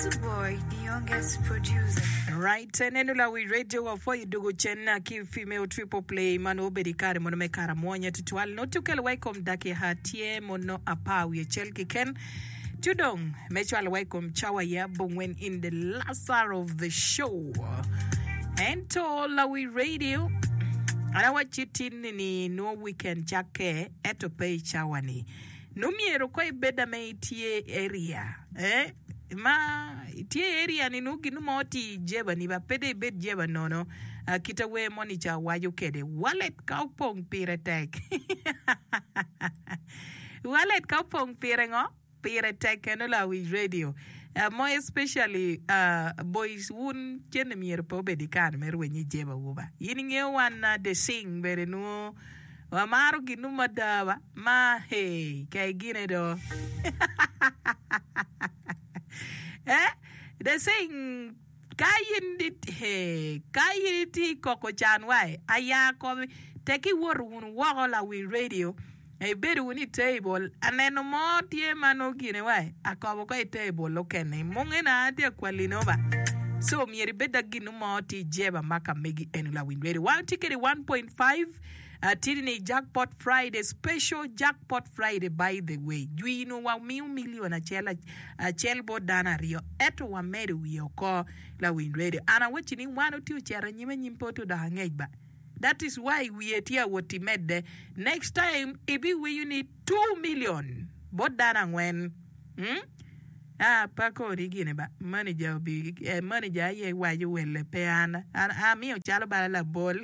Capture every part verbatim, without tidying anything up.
Little boy, the youngest producer. Right, neno lawi radio wa pwoyo dugo cen ki female triple play ma nongo obedo i kare mono me kara mwonya tutwal nongo tukelo wa i kom dakika tye mono apar wiye acel keken ci dong me cwalo wa i kom cawa ya abongwen in the last hour of the show ento lawi radio an awacci tin ni nongo weekend cakke ento pe i cawa ni nongo myero ko ibed ame itye area eh? Ma itye area ni nongo gin mo tye i jeba ni ba pe dong ibed jeba nono uh, kita wer moni ca waco kede wallet ka opong pire tek wallet ka opong pire ngo pire tek eno lawic radio uh, mo especially uh, boys wun cene myero pe obed i kare me rwenyo i jeba wu ba in ingeyo wan uh, the sing bene nongo wamaro ginu mada ba ma hey ka igine do eh the sing ka in hey, ka in itye i koko can wai aya komi tek iwoto wunu woko lawi radio ibedo wunu i table aneno mo tye ma nongo gine wai akobo ko i table okene munge na atye akwalino ba so myero ibed da ginu mo tye i jeba ma ka megi eno lawiny radio wan tye kede one point five uh, tye ni jackpot friday special jackpot friday by the way jwino wa miyo million acel acel bot dano aryo ento wamedo wiye oko lawiny radio an awacci ni wan otye ocito anyim anyim pe otye odok angec ba that is why wiye tye awot imedde next time ibiwinyo ni two million bot dano angwen hmm? Ah, pa kodi gine ba manager obi eh, manager aye waco welle pe an an amiyo calo bala labol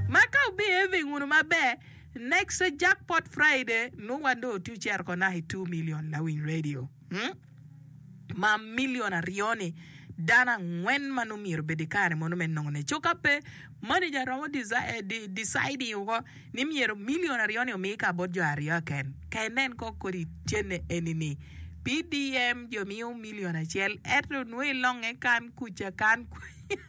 ma ka obehaving wunu maber next jackpot friday nongo wan dong otye ocito ko naka i two million lawiny radio hmm? Ma million aryo ni dano angwen ma nongo myero obed i kare mono me nongone co ka pe manager romo decide oko ni myero million aryo ni omi ka bot jo aryo ken ka inen ko kodi cene eni ni P D M jo miyo million acel ento nongo ilonge kan kuca kan kuca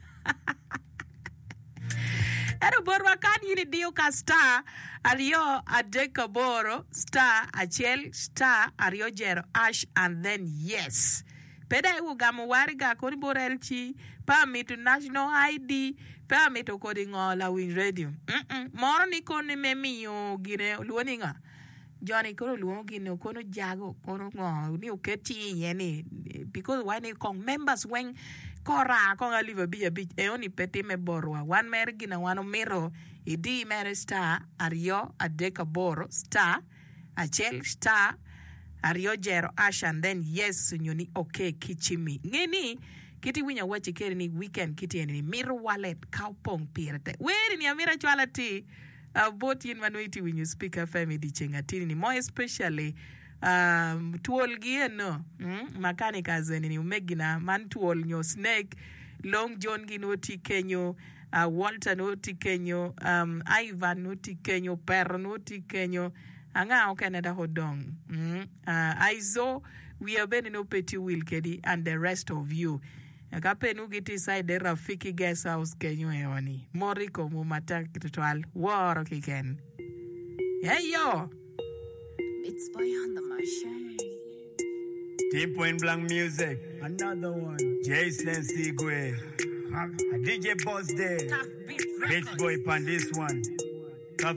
ento botwa kan in idiyo ka star aryo adek aboro star acel star aryo jero hash and then yes pe dai wugamo wariga koni bot L C pe amito national I D pe amito kodi ngo lawiny radio mm -mm. Moro ni koni me miyo gine olwongo ni nga Johnny kono olwongo gine kono jago kono ngo ni oket cinge iye ni because why ni kong members weng kora kong alip abic abic eoni pe time botwa wan mere gina wan omito idi mere star aryo adek aboro star acel star aryo jero hash and then yes onyo ni okay ki cimi nge ni kiti winyo awaci kede ni weekend kiti eni ni mito wallet ka opong pire tek weri ni amito acwala ti uh, bot yin ma nongo iti winyo Speak F M i dyeceng atini ni mo especially um, twol gi eno mm, makanika eni ni omegina man twol nyo snake Long John gi nongo tye kenyo uh, Walter nongo tye kenyo um, Ivan nongo tye kenyo Pero nongo tye kenyo anga okene dok odong mm, uh, Aizo wiya bene nongo pe tye wil kedi and the rest of you ka pe nongo gitye side Rafiki guest house kenyo eoni mot i komwu matek tutwal woro kiken eyo It's boy on the machine. Team Point Blank Music. Another one. Jason Sigwe. A D J Boss Day. Tough Beat Beach Records. Boy pan this one.